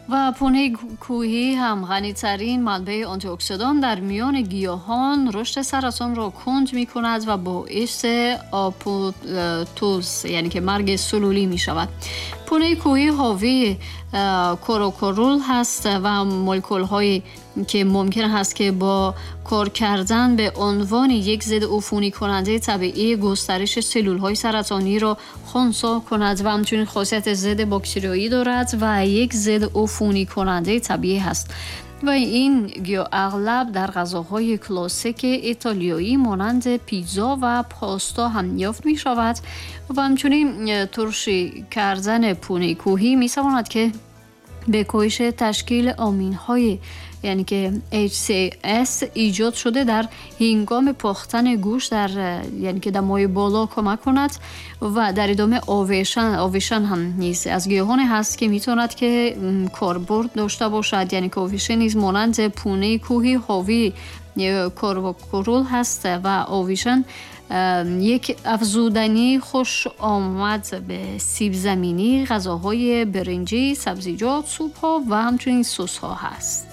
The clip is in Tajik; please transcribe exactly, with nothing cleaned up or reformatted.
Ва пунаи кӯҳӣ ҳам ғанитарин манбаи антиоксидан дар миёни гиёҳон рушди саратонро кунд мекунад ва боиси апоптоз, яъне ки марги сулулӣ мешавад. Пунаи кӯҳӣ ҳовии карвакрол ҳаст ва молекулҳое ки мумкин ҳаст ки бо кор кардан ба унвони як зидди уфуникунандаи табиӣ густариши сулулҳои саратониро хунсо кунад ва ҳамчунин хосияти зидди бактериявӣ дорад ва як зидди уфуникунандаи табиӣ ҳаст. Ва ин гиёҳ ағлаб дар ғизоҳои классики итолиёӣ монанди питса ва паста ҳам ёфт мешавад ва ҳамчунин туршӣ кардани пунаи кӯҳӣ метавонад ки ба коҳиши ташкили аминҳои, яъне ки H C S эҷод шуда дар ҳингоми пухтани гӯшт дар, яъне ки дамои боло кӯмак кунад. Ва дар идома овешан овешан ҳам низ аз гиёҳоне ҳаст ки метавонад ки корбурд дошта бошад, яъне ки овеша низ монанди пунаи кӯҳӣ ҳовии карвакрол ҳаст ва овешан як афзудании хушомад ба сибзаминӣ, ғизоҳои биринҷӣ, сабзиҷот, супҳо ва ҳамчунин сосҳо ҳаст.